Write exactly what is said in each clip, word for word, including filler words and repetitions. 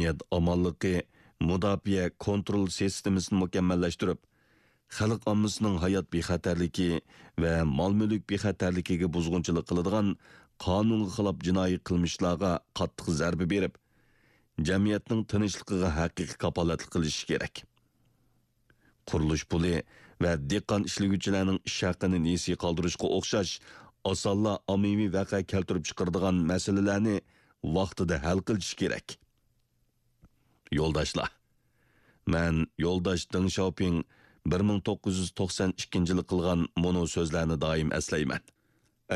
مەدەنىيەت ئامانلىقى، مۇداپىئە كونترول سىستېمىسىنى مۇكەممەللەشتۈرۈپ، خەلق ئاممىسىنىڭ ھايات بىخەتەرلىكى ۋە مال-مۈلۈك بىخەتەرلىكىگە بۇزغۇنچىلىق قىلىدىغان قانۇنغا خىلاپ جىنايى قىلمىشلارغا قاتتىق زەربە بېرىپ، جەمئىيەتنىڭ تىنچلىقىغا ھەقىقىي كاپالەتلىك قىلىشى كېرەك. قۇرۇلۇش پۇلى ۋە دېھقان ئىشلىگۈچىلەرنىڭ ئىش ھەققىنى نېسى قالدۇرۇشقا ئوخشاش ئاسانلا ئاممىۋى ۋەقە كەلتۈرۈپ چىقىرىدىغان مەسىلىلەرنى ۋاقتىدا ھەل قىلىش كېرەك. يولداشلار، مەن يولداش دېڭ شياۋپىڭ بىر مىڭ توققۇز يۈز توقسەن ئىككىنچى يىلى قىلغان مۇنۇ سۆزلەرنى دائىم ئەسلەيمەن.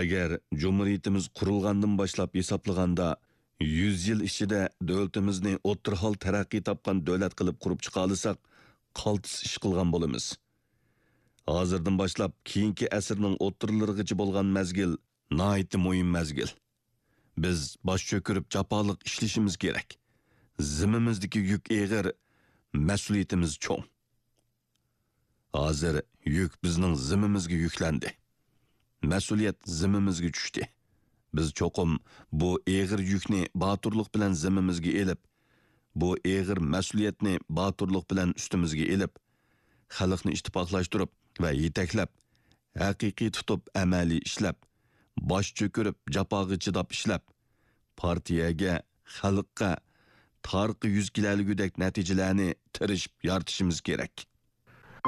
ئەگەر جۇمھۇرىيىتىمىز قۇرۇلغاندىن باشلاپ ھېسابلىغاندا، يۈز يىل ئىچىدە دۆلىتىمىزنى ئوتتۇرا ھال تەرەققىي تاپقان دۆلەت قىلىپ قۇرۇپ چىقالىساق، قالتىس ئىش قىلغان بولىمىز. ھازىردىن باشلاپ كېيىنكى ئەسىرنىڭ ئوتتۇرىلىرىغىچە بولغان مەزگىل ناھايىتى مۇھىم مەزگىل. بىز باش چۆكۈرۈپ جاپالىق ئىشلىشىمىز كېرەك. زىممىمىزدىكى يۈك ئېغىر، مەسئۇلىيىتىمىز چوڭ. ھازىر يۈك بىزنىڭ زىممىمىزگە يۈكلەندى. مەسئۇلىيەت زىممىمىزگە چۈشتى. بىز چوقۇم بۇ ئېغىر يۈكنى باتۇرلۇق بىلەن زىممىمىزگە ئېلىپ، بۇ ئېغىر مەسئۇلىيەتنى باتۇرلۇق بىلەن ئۈستىمىزگە ئېلىپ، خەلقنى ئىتتىپاقلاشتۇرۇپ ۋە يېتەكلەپ، ھەقىقىي تۇتۇپ ئەمەلىي ئىشلەپ، باش چۆكۈرۈپ جاپاغا چىداپ ئىشلەپ، پارتىيەگە، خەلققە تارقا يۈز كېلەلىگۈدەك نەتىجىلەرنى تىرىشىپ يارىتىشىمىز كېرەك.